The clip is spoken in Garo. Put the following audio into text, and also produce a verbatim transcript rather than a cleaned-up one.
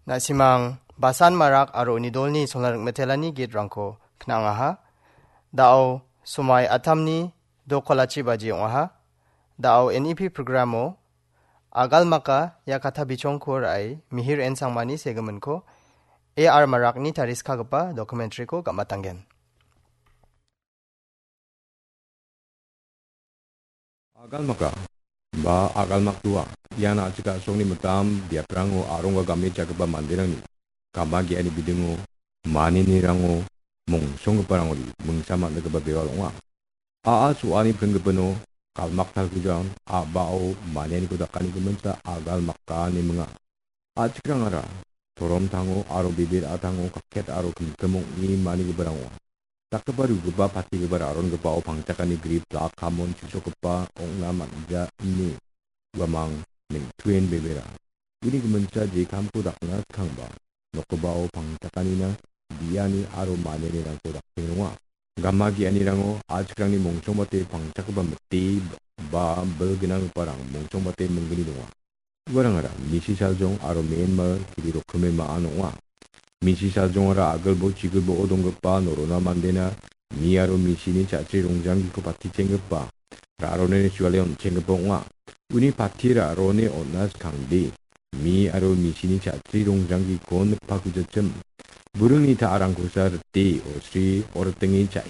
Na·simang Basan Marak aro uni dolni sona ring·metelani gitrangko kna·angaha. Da·o somai atamni dokolachi baji ong·aha. Da·o N E P programo Agalmaka ia katha bichongko ra·e Mihir N Sangmani segiminko A R Marakni tariskagipa documentary-ko gam·atanggen. Agalmaka ba Agalmakdua ian a·chik a·songni mitam biaprango arongga game jagipa manderangni gama ge·ani bidingo manianirango mongsonggiparangori mingsa man·gipa bewal ong·a. A·a so·ani pringgipino galmaktalkujan a·bao manianiko dakani giminsa Agalmaka ine minga. A·chikrangara toromtango aro bibir a·tango kakket aro kimkim ong·e manigiparang ong·a. Dakgipa rugipa patigipa rarongipao pangchakani grip lak kamon chisokgipa ong·na man·ja ine uamang neng·tuen bebera. Uni giminsa jekamko dakna skangba nokgipao pangchakanina biani aro manianirangko daktenga. Gama ge·anirango a·chikrangni mongsongbate pangchakgipa mite ba bil gnanggiparang mongsongbate minggni donga. Uarangara Misi Saljong aro Myanmar kiri rokkime ma·an ong·a. Misi Saljongara agilbo chigilbo-o donggipa norona mandena mi aro misini cha·chri rongjanggiko patichenggipa, ra·rone suale on·chenggipa ong·a. Uni pati ra·rone on·na skangde, mi aro misini cha·chri rongjanggiko nikpakujachim. Buringni ta·arangkosa rite, osri, oritenge cha·,